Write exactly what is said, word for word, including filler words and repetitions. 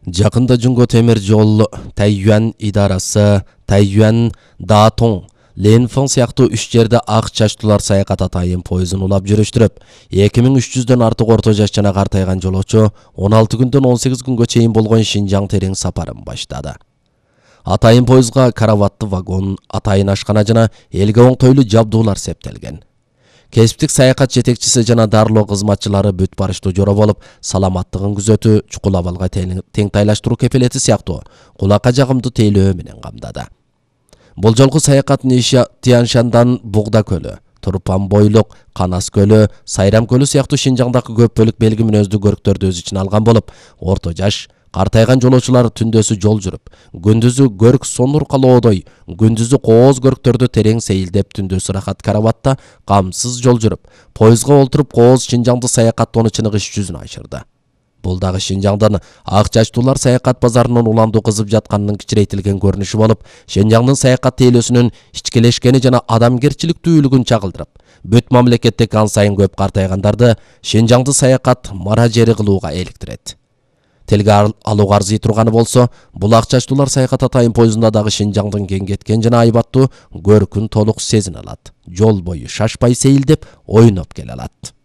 Жакында Жунго темир жол Тайюан идарасы Тайюан Датон Ленфон сыяктуу үч жерде ак чачтуулар саякат атайын поезин улап жүрүштүрүп, эки миң үч жүздөн артык орто жаш жана картайган жолоочу он алты күндөн он сегиз күнгө чейин болгон Шинжаң терең сапарын баштады. Атайын поезга караватты вагон, атайын ашкана жана элге оңтойлуу жабдуулар септелген. Кесиптик саякат жетекчиси жана дарылоо кызматчылары бүт барыштуу жора болуп, саламаттыгын күзөтүү, чукул абалга теңтайлаштыруу кепилети сыяктуу кулакка жагымдуу тейлөө менен камдады. Бул жолку саякат Ниши Тяншандан Бугда көлү, Турпан бойлук, Канас көлү, Сайрам көлү сыяктуу Шинжаңдагы көп бөлүк белги мүнөздүү көрктөрдү өз ичине алган болуп, орто жаш, картайган жолоочулар түндөсү жол жүрүп, күндүзү көрк сонур калоодой, күндүзү кооз көрктөрдү терең сейилдеп, түндөсү рахат караватта камсыз жол жүрүп, поезга олтуруп кооз Шинжаңды саякаттоону чыныгы иш жүзүнө ашырды. Бул дагы Шинжаңдын ак чачтуулар саякат базарынын уламдуу кызып жатканынын кичирейтилген көрүнүшү болуп, Шинжаңдын саякат тейлөөсүнүн ичкелешкени жана адамгерчиликтүүлүгүн чагылдырып, бүт мамлекеттеги ан сайын көп картайгандарды Шинжаңды саякат мара жери кылууга эликтирет. Телге алууга арзый турганы болсо, бул ак чачтуулар саякат атайын поездунда дагы Шинжаңдын кеңгеткен жана айбаттуу көркүн толук сезине алат. Жол бою шашпай сейилдеп, ойноп келе алат.